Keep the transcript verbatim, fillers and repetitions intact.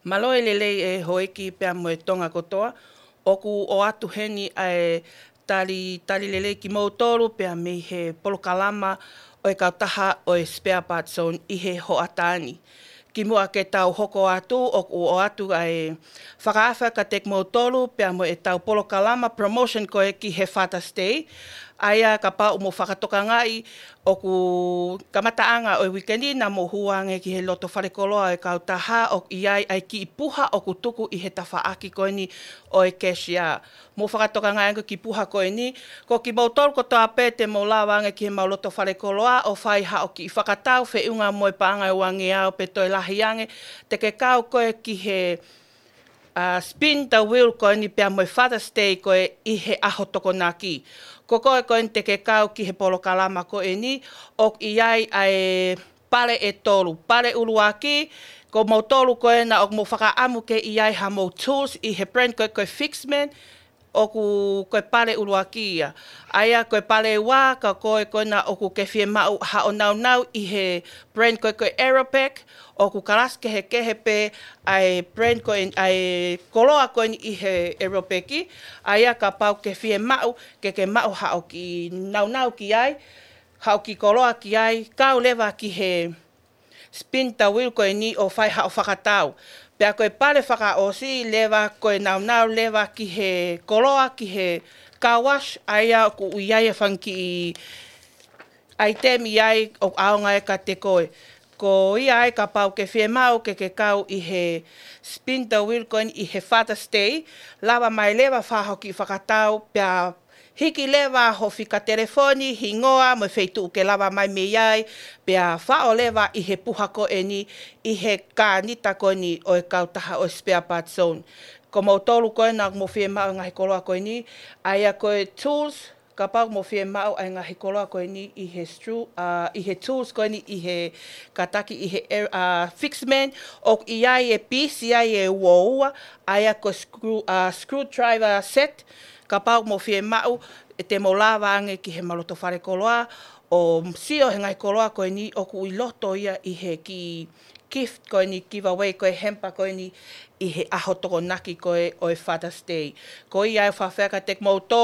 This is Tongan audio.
Mālō e lelei e houʻeiki pea mo e Tonga kotoa. ʻOku ʻoatu heni ʻa e tali, tali lelei kimoutolu pea mei he polokalama ʻo e kautaha ʻo e Spare Parts Zone ʻi he hoʻatā ni. Kimuʻa ke tau hoko atu, ʻoku ʻoatu ʻa e fakaafe kiate kimoutolu pea mo ʻetau polokalama promotion ko ē ki he Father's Day. ʻA ia kapau ʻoku mou fakatokangaʻi, ʻoku kamataʻanga ʻo e uike ni naʻa mou hū ange ki he loto falekoloa ʻo e kautaha, ʻoku ʻi ai ʻa e kiʻi puha ʻoku tuku ʻi he tafaʻaki ko eni ʻo e cashier. Mou fakatokangaʻi ange kiʻi puha ko eni, ko kimoutolu kotoa pē te mou lava ange ki heʻemau loto falekoloa ʻo fai haʻo kiʻi fakatau feʻunga mo e paʻanga ʻe uangeau pe toe lahi ange, te ke kau koe ki he, ʻa, spin the wheel ko eni pea mo e Father's Day ko ē ʻi he ʻaho Tokonaki. Ko koe ko eni te ke kau ki he polokalama ko eni, ʻoku ʻi ai ʻa e pale ʻe tolu. Pale ʻuluaki, ko moutolu ko ē naʻa ʻoku mou fakaʻamu ke ʻi ai haʻamou tools ʻi he brand ko ē ko e Fixman, ʻoku ko e pale ʻuluaki ia. ʻA ia ko e pale ua, ka ko koe ko ē naʻa ʻoku ke fiemaʻu haʻo naunau ʻi he brand ko ē ko e Aeropack, ʻoku kalasi kehekehe pē ʻa e brand ko ē, ʻa e koloa ko eni ʻi he Aeropack. ʻA ia kapau ke fiemaʻu ke ke maʻu haʻo kiʻi naunau ki ai, haʻo kiʻi koloa ki ai, kau leva ki he spin the wheel ko eni ʻo fai haʻo fakatau. Pea ko e pale fakaʻosi leva ko e naunau leva ki he koloa ki he car wash, ʻa ia ʻoku ʻi ai e fanga kiʻi ʻaitemi ʻi ai ʻoku ʻaonga ai kiate koe. Ko ia ai kapau ke fiemaʻu ke ke kau ʻi he spin the wheel ko eni ʻi he Father's Day, lava mai leva fai haʻo kiʻi fakatau pea hiki leva ho fika telefoni, hingoa mo e feituʻu ke lava mai mei ai, pea faʻo leva ʻi he puha ko eni ʻi he kānita ko eni ʻo e kautaha ʻo e Spare Parts Zone. Ko moutolu ko ē naʻa mou fiemaʻu e ngaahi koloa ko eni, ʻa ia ko e tools, kapau mou fiemaʻu ʻa e ngaahi koloa ko eni ʻi he stru-, ʻa, ʻi he tools ko eni ʻi he kātaki ʻi he, ʻa, Fixman, ʻoku ʻi ai e piisi ai ʻe ua ua, ʻa ia ko e screw, ʻa, screwdriver set, kapau mou fiemaʻu, ʻe te mou lava ange ki heʻemau loto falekoloa ʻo sio he ngaahi koloa ko eni ʻoku ʻi loto ia ʻi he kiʻi gift ko eni, giveaway ko e hamper ko eni ʻi he ʻaho Tokonaki ko ē ʻo e Father's Day. Ko ia e fakaafe kiate kimoutolu.